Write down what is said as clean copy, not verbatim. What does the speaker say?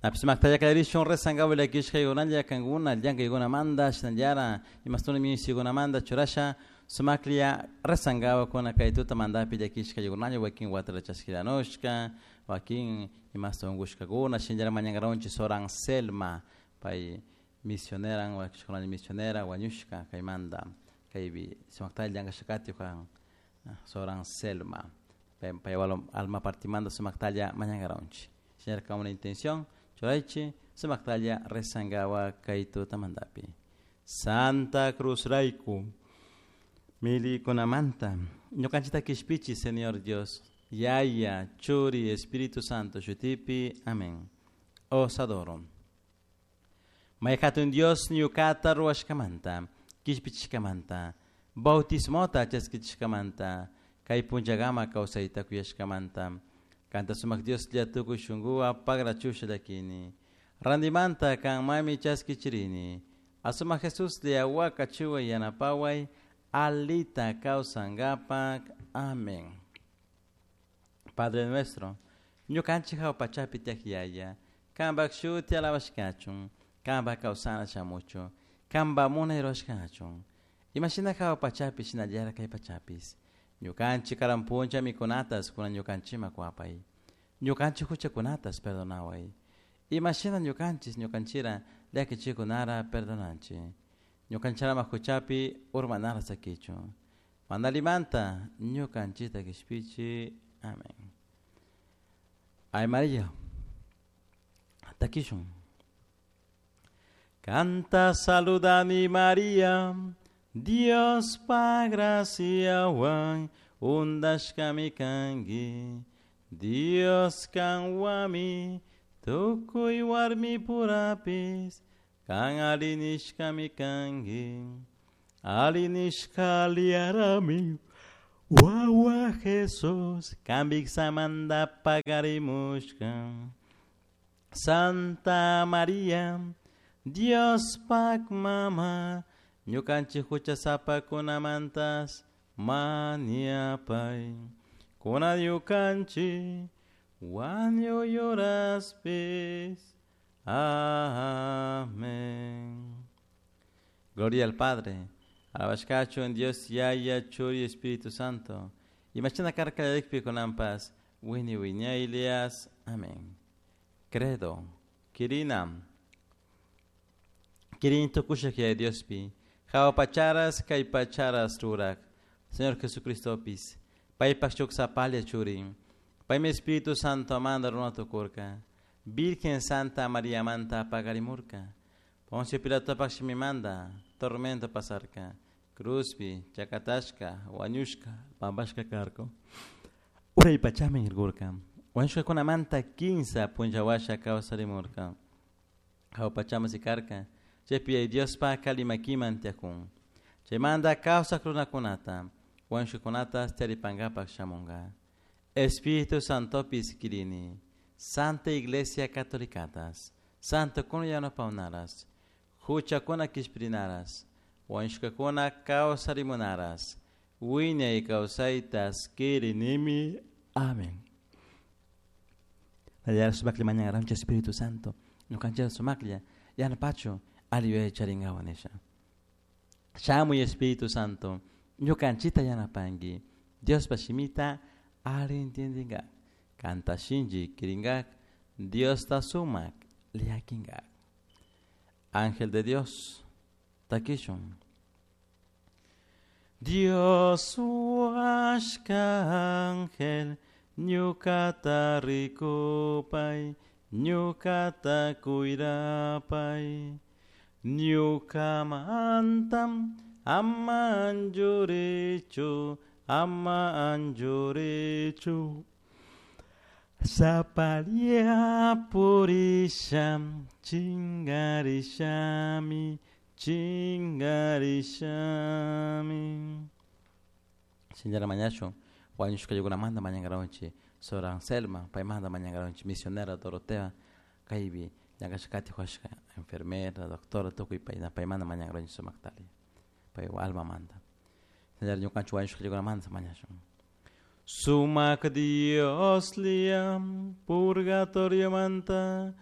Napish kallarishun rezankawa llakishkaykunalla kankuna llankaykunamanta shinallara imastuna misikunamanta churasha sumaklla rezankawa kay tutamantapi llakishkaykunalla wakin watara chaskiranushka wakin imasta unkushkakuna shinallara mañankaranchik Sor Anselma pay misionera wakishkunalla misionera wañushka kaymanta kaypi sumaktalla llankashkakati Sor Anselma pay alma partimanta sumaktalla mañankaranchik shinallara una intención churaychik sumaktalla rezankawa kay tutamantapi. Santa Cruz rayku milikunamanta ñukanchikta kishpichi Señor Dios Yaya Churi Espíritu Santo shutipi amén. Os adoro. May hatun Dios ñukata ruwashkamanta kishpichishkamanta bautismota chaskichishkamanta kay punllakama kawsayta kuyashkamanta kanta sumak Dioslla tukuy shunkuwan pagrachusha llakini randimanta kanmami chaskichirini asumak Jesuslla wakachiway yanapaway alita kawsankapak amén. Padre nuestro ñukanchik hawa pachapi tiyak yaya kanpak shuti alabashkachun kanpak kawsana shamuchun kanpak munay rurashkachun imashina hawa pachapi shinallara kay pachapis ñukanchik karan punlla mikunatas kunan ñukanchikman kuwapay ñukanchik huchakunatas perdonaway imashina ñukanchik ñukanchira llakichikunara perdonanchik ñukanchirama huchapi urmanara sakichun mana allimanta ñukanchikta kishpichi amén. Ay María takishun. Kanta saludani María Diospa graciawan undashkami kanki Dios kanwami tukuy warmipurapis kan arinishkami kanki arinishka liarami wawa Jesus kanpik samanta pagarimushka Santa María Diospak mama ñukanchik huchasapakunamantas mañapay kunan ñukanchik wañuy horaspis. Amén. Gloria al Padre, alabashkachu en Dios Yaya, Churi, Espíritu Santo. Imashina karka llalikpi kunanpas, wini wiñaylias. Amén. Credo. Kirina. Kirin tukushak Yaya Diospi. Hawa pacharas kay pacharas rurak. Señor Jesucristopis. Paypak shuk sapalla churin. Paymi Espíritu Santo manda runa tukurka. Virgen Santa María manta pagarimurka. Poncio Pilatopak shimimanta tormento pasarka. Cruzpi, chakatashka, wañushka, pampashka karka. Uray pachaman rirkurka. Wañushkakunamanta kinsa punlla washa kawsarimurka. Hawa pachaman sikarka. Chaypi Diospa kalimakiman tiyakun. Chaymanta kawsak runakunata, wañushkakunata taripankapak shamunka. Espíritu Santopis kirini. Santa Iglesia Catolicatas, Santo kuna yanapawnaras, huchakuna kishpirinaras, wañushkakuna kawsarimunaras, wiñay kawsaytas kirinimi. Amén. Nallara sumaklla mañankaranchik Espíritu Santo, ñukanchik sumaklla yanapachu alli yuyay charinkawa nisha. Shamuy Espíritu Santo, ñukanchikta yanapanki, Diospa shimita alli entiendinkak, kanta shinchi kirinkak, Diosta sumak llakinkak. Ángel de Dios, takishun. Dios huashka ángel, ñukata rikupay, ñukata kuyrapay, ñukamantam ama anchurichu, ama anchurichu. Sapalla purisha, chingarishami, chingarishami. Señora mañashun, wañushkaykunamanta mañankaranchik Sor Anselma, paymanta mañankaranchik misionera Dorotea, kaypi llankashkati huashka enfermera, doctora, tukuy payna paymanta mañankaranchik sumaktalla, pay almamanta. Señora ñukanchik wañushkaykunamanta mañashun. Sumak Dios liam purgatoriomanta